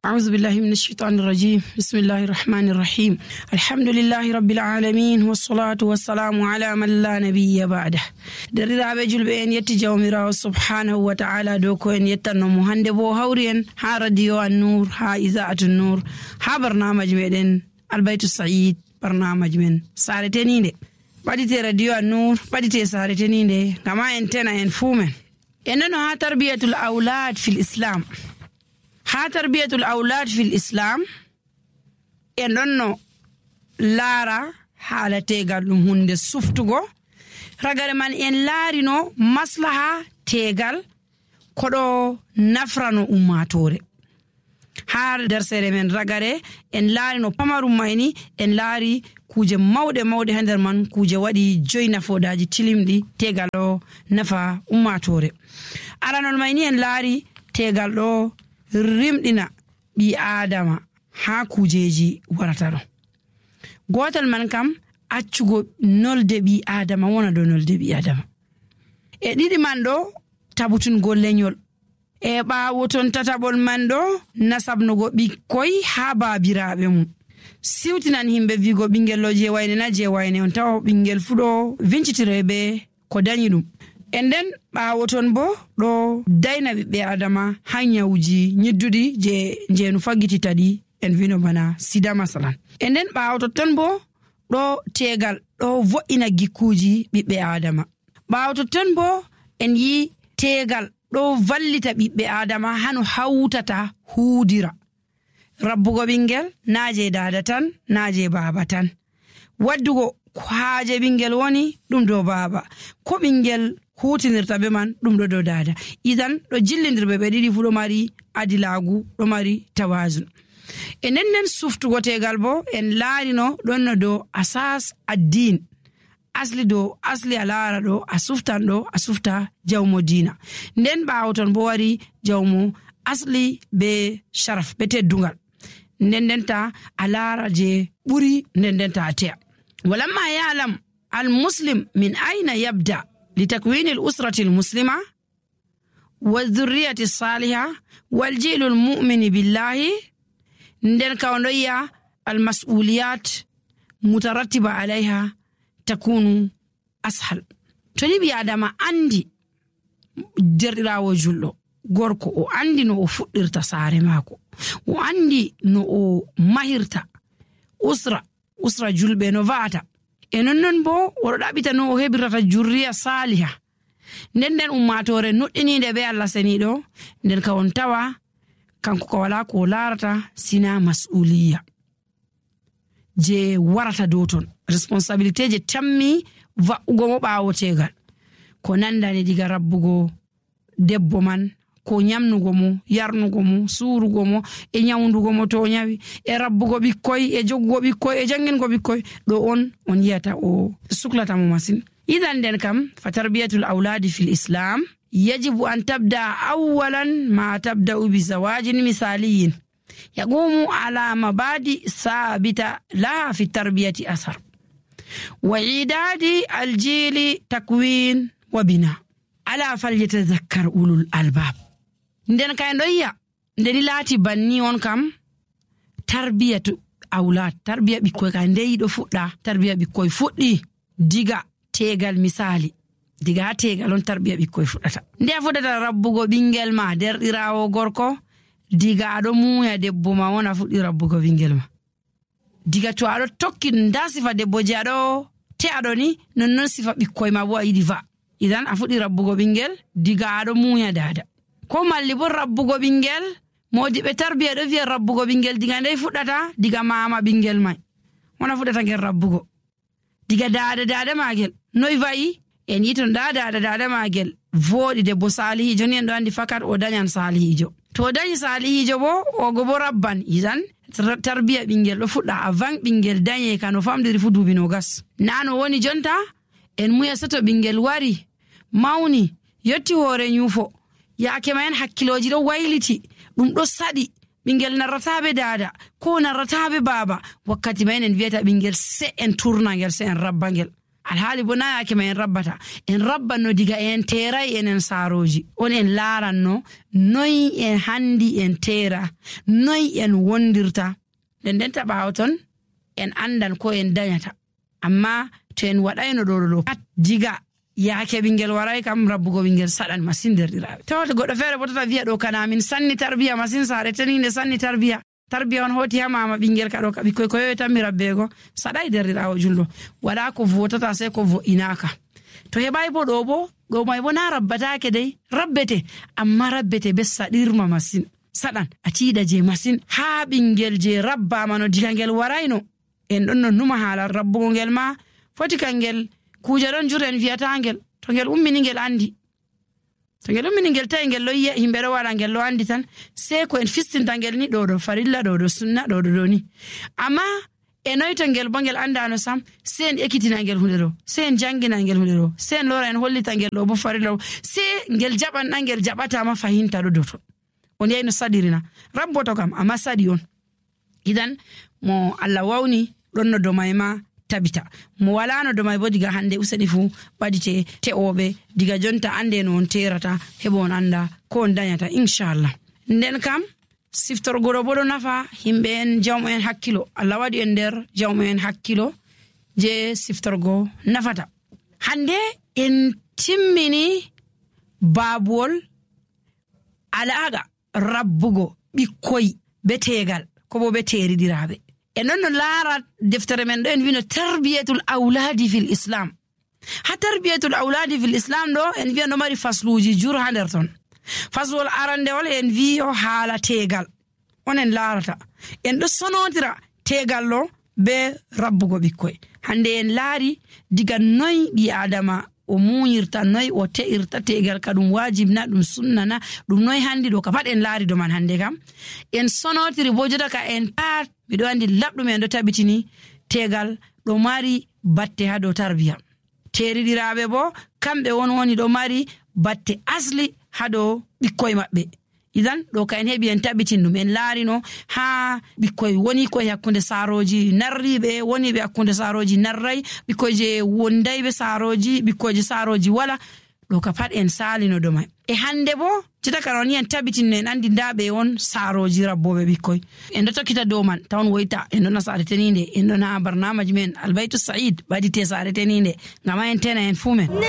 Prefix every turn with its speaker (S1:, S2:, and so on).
S1: أعوذ بالله من الشيطان الرجيم. بسم الله الرحمن الرحيم. الحمد لله رب العالمين والصلاة والسلام على من لا نبي بعده. درiraɓe julɓe en yetti jawmirawo subhanahu wa ta'ala dow ko en yettannomo hande bo hawri en ha radio an-nur ha iza'atu nur ha barnamaji meɗen albaytu sa'id barnamaji men sare teninde ɓaɗite radio an-nur ɓaɗite sare teninde gama en tena en fumen en nano ha tarbiyatul aulad fil islam. Ha tarbiyatul aulad fil islam en ɗonno laara haala tegal ɗum hunde suftugo ragare man en laarino maslaha tegal koɗo nafrano ummatore. Ha dersere men ragare en laarino pamarum mayni en laari kuje mawɗe ha nder man kuje waɗi joyi nafodaji tilimɗi tegal ɗo nafa ummatore. Aranol mayni en laari tegal ɗo rimɗina ɓi adama ha kujeji warata ɗo. Gotal man kam accugo nolde ɓi adama wona dow nolde ɓi adama. E ɗiɗi man ɗo tabutungo lenyol. E ɓawo ton tataɓol man ɗo nasabnugo ɓikkoy ha babiraɓe mum. Siwtinan himɓe vigo ɓingel ɗo je wayne na je wayne on tawa ɓingel fu ɗo vincitire be ko dañi ɗum. En nden ɓawo ton bo ɗo dayna ɓiɓɓe adama ha nyawuji nyidduɗi je jeenu faggitita ɗi en vino bana sida masalan. En nden ɓawo totton bo ɗo tegal ɗo vo'ina gikkuji ɓiɓɓe adama. Ɓawo totton bo en yi tegal ɗo vallita ɓiɓɓe adama hano hawtata huudira. Rabbugo ɓingel naje dada tan naje baba tan. Waddugo haaje ɓingel woni ɗum dow baba, ko ɓingel hutinirta be man ɗum ɗo dow dada. Idan ɗo jillidirɓe ɓe ɗiɗi fu ɗo mari adilagu, ɗo mari tawazun. E nden suftugo tegal bo en laarino ɗon no dow asas addin. Asli a laara ɗo a suftan ɗo a sufta jawmo dina. Nden ɓawo ton bo wari jawmo asli be sharaf be teddungal. Ndendenta a laara je ɓuri ndendenta a te'a. Walamma ya'lam al-muslim min aina yabda لتكوين الأسرة المسلمة والذرية الصالحة والجيل المؤمن بالله ندن كونية المسؤوليات مترتبة عليها تكون أسهل. تنبي آدم عندي درراو جلو gorko o andi no o fuɗɗirta saare maako, o andi no o mahirta usra julɓe no va'ata. E non bo oɗo ɗaɓita no o heɓirata jurriya saliha. Nden ummatore nuɗɗininde be Allah seniɗo nden ka on tawa kanko ko wala ko larata sina mas'uliya je warata dow ton, responsabilité je tammi va'ugo mo ɓawo tegal ko nandani diga rabbugo debbo man, ko nyamnugo mo, yarnugo mo, surugo mo, e nyawndugo mo to nyawi, e rabbugo ɓikkoy, e joggugo ɓikkoy, e jangingo ɓikkoy. Ɗo on yiyata o suklata mo masin. Idan nden kam fa tarbiyatul auladi fil islam yajibu an tabda awwalan ma tabda'u bi zawajin misaliyin yaqumu ala mabadi sabita laha fi tarbiyati asar wa idadi aljili takwin wa bina ala falyatazakkar ulul albab. Nden kay ndoyya ndeni laati banni on kam tarbiyatu aulad, tarbiya ɓikkoy ka ndeyi ɗo fuɗɗa. Tarbiya ɓikkoy fuɗɗi diga tegal misali, diga ha tegal on tarbiya ɓikkoy fuɗɗata. Nde a fuɗɗata rabbugo ɓingel ma derɗirawo gorko diga aɗo muuya debbo ma wona fuɗɗi rabbugo ɓingel ma. Diga to aɗo tokki nda sifa debbo je aɗo te'aɗo ni nonnon sifa ɓikkoy ma bo a yiɗi va. Idan a fuɗɗi rabbugo ɓingel diga aɗo muuya dada. Ko malli bo rabbugo ɓingel modiɓe tarbiya ɗo wiya rabbugo ɓingel diga ndey fuɗɗata diga mama ɓingel mai wona fuɗɗata ngel rabbugo diga dada magel noy va'i en yiton dada magel voɗi debbo salihijo ni en ɗo andi fakat o dañan salihijo. To dañi salihijo bo ogo bo rabban. Idan tarbiya ɓingel ɗo fuɗɗa avant ɓingel dañe ka no famdiri fu duubi nogas. Nano woni jonta en muya sato ɓingel wari mawni yotti hoore nyufo yaake mayen hakkiloji ɗo wayliti ɗum ɗo saɗi ɓingel narrataɓe dada ko narrataɓe baba wakkati mayen en wiyata ɓingel se en turna ngel se en rabba ngel alhaali bo na yake ma en rabbata, en rabbanno diga en teeray enen saaroji. On en laaranno noy en handi en teera, noy en wondirta. nden ɓaawo ton en andan ko en dañata. Amma to en waɗayno ɗo pat diga yaake ɓingel waray kam rabbugo ɓingel saɗan masin derɗiraaɓe. Tawata goɗɗo feere bo tata wiya ɗo kana min sanni tarbiya masin saare teninde sanni tarbiya on hoti ha mama ɓingel ka ɗo ka ɓikkoy ko yoyi tan mi rabbego saɗay derɗiraawo julɗo. Waɗa ko votata sai ko vo'inaka. To heɓay bo ɗo may bo na rabbatake dey, rabbete amma rabbete be saɗirma masin. Saɗan a tiiɗa je masin ha ɓingel je rabbama no diga ngel warayno. En ɗon no numa haala rabbugo ngel ma foti kangel kuje ɗon jur en wiyata ngel to ngel ummini ngel andi. To ngel ummini ngel tawi ngel loyiya himɓe ɗo waɗa ngel lo andi tan sei ko en fistinta ngel ni ɗo farilla ɗo sunna ɗo ni. Amma e noyto ngel bo ngel andano sam sei en ekkitina ngel hunde ɗo, sei en jangina ngel hunde ɗo, sei en lora en hollita ngel ɗo bo farilla ɗo, sei ngel jaɓan ɗan ngel jaɓatama fahinta ɗo dow ton. On yayno saɗirina rabboto kam amma saɗi on. Idan mo Allah wawni ɗon no domay ma tabita, mo walano domay bo diga hande useni fu ɓadite te'oɓe diga jonta ande no on terata heɓo on anda ko on dañata inchallah. Nden kam siftorgoɗo bo ɗo nafa himɓe en jawmo en hakkilo. Allah waɗi en nder jawmo en hakkilo je siftorgo nafata. Hande en timmini babuwol alaga rabbugo ɓikkoy be tegal ko bo be teriɗiraɓe. E non no laara deftere men ɗo en wino tarbiyatul awladi fil islam. Ha tarbiyatul awladi fil islam ɗo en wiya no mari fasluji jur ha nder ton. Faslol arandewol en wiyo haala tegal onen laarata. En ɗo sonotira tegal ɗo be rabbugo ɓikkoy. Hande en laari diga noy ɓi adama o muñirta, noy o te'irta tegal ka ɗum wajibna ɗum sunnana ɗum noy handi ɗo ka pat en laari do man. Hande kam en sonotiri bo jota ka en pat miɗo andi labɗum en ɗo tabitini tegal ɗo mari batte ha dow tarbiya. Teriɗiraɓe bo kamɓe woni ɗo mari batte asli ha dow ɓikkoy maɓɓe. Idan ɗo ka en heɓi en tabitin ɗum en laarino ha ɓikkoy woni koye hakkunde saaroji narriɓe, woni ɓe hakkunde saaroji narray, ɓikkoy je wondayɓe saaroji, ɓikkoyje saaroji wala. Ɗo ka pat en salino ɗo may. E hande bo jeta ka woni en tabitinno en andi ndaɓe on saaroji rabboɓe ɓikkoy. En ɗo tokkita dow man tawon woyta en ɗo na saare teninde, en ɗo na barnamaji men albaytu sa'id ɓadite saare teninde ngama en tena en fu men.